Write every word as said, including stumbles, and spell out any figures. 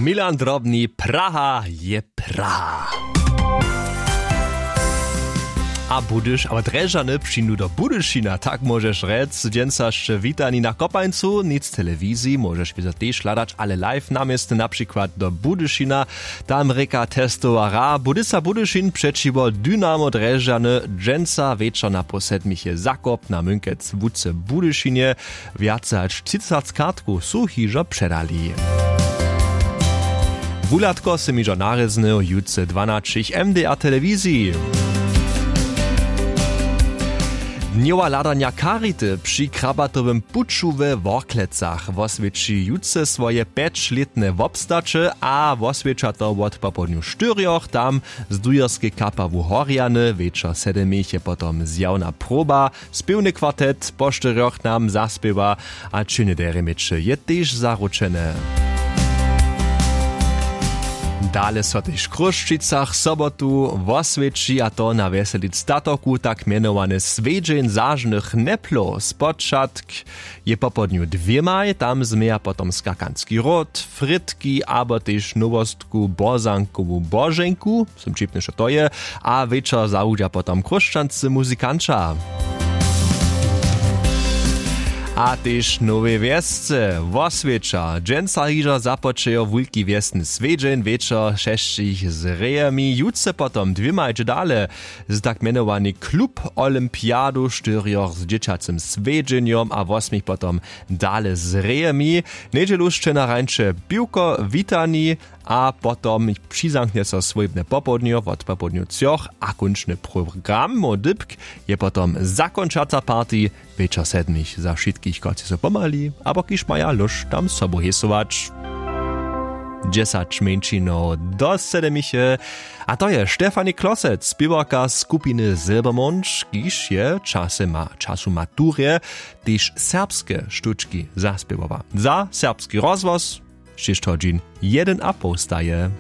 Milan Drobny, Praha je Praha. A Budyš, abo Drježdźany přińdu do Budyšina, tak móžeš rjec. Dźensa sće witani na Kopańcu, nic telewiziji móžeš wězo tež hladać, ale live na městnje, na přikład do Budyšina. Tam rěka testowa hra Budysa Budyšin přećiwo Dynamo Drježdźany. Dźensa wječor na poł sedmich je Zakop na Mynkec w Łuce w Budyšinje. Wjace hač třiceći kartkow su hižo předali. Wuhladko sym hižo narěznył jutře dwanaćich w M D R telewiziji. Dnjowa hladanja Charity při Krabatowym puću we Worklecach woswjeći jutře swoje pjećlětne wobstaće a woswjeća to wot popołdnju štyrjoch tam z dujerskej kapawu Horjany. Wječor sedmich je potom zjawna proba. Spěwny kwartet po štyrjoch nam zaspěwa a činy derje měće je tež zaručene. Dale so tež w Chrósćicach sobotu woswjeći, a to na wjeselic statoku tak mjenowane swjedźeń zažnych neplow. Spočatk je popołdnju dwěmaj, tam změja potom skakanski ród, frytki abo tež nowostku bozankowu boženku, sym ćipny što to je, a wječor zawudźa potom chróšćanscy muzikanća. A tež w Nowej Wjesce woswjeća. Dźensa hižo započejo wulki wjesny swjedźeń wječor šesćich z rejemi, jutře potom dwěmaj dźe dale z tak mjenowany klub olympiadu štyrjoch z dźěćacym swjedźenjom a wosmich potom dale z rejemi. Njedźelu sće na rańče piwko witani a potom přizamknje so swójbne popołdnjo wot popołdnju třoch a kónčny program módypk je potom zakónčaca party. Wječor sedmich za wšitkich, kotřiž su pomhali abo kiž maja lóšt tam sobu hesować. Dźesać mjeńšinow do sedemiche. A to je Štefani Klosec, spěwarka skupiny Silbermond, kiž je časy ma času maturje tež serbske štučki zaspěwała za serbski rozhłos. Šěsć hodźin jedyn a poł staje.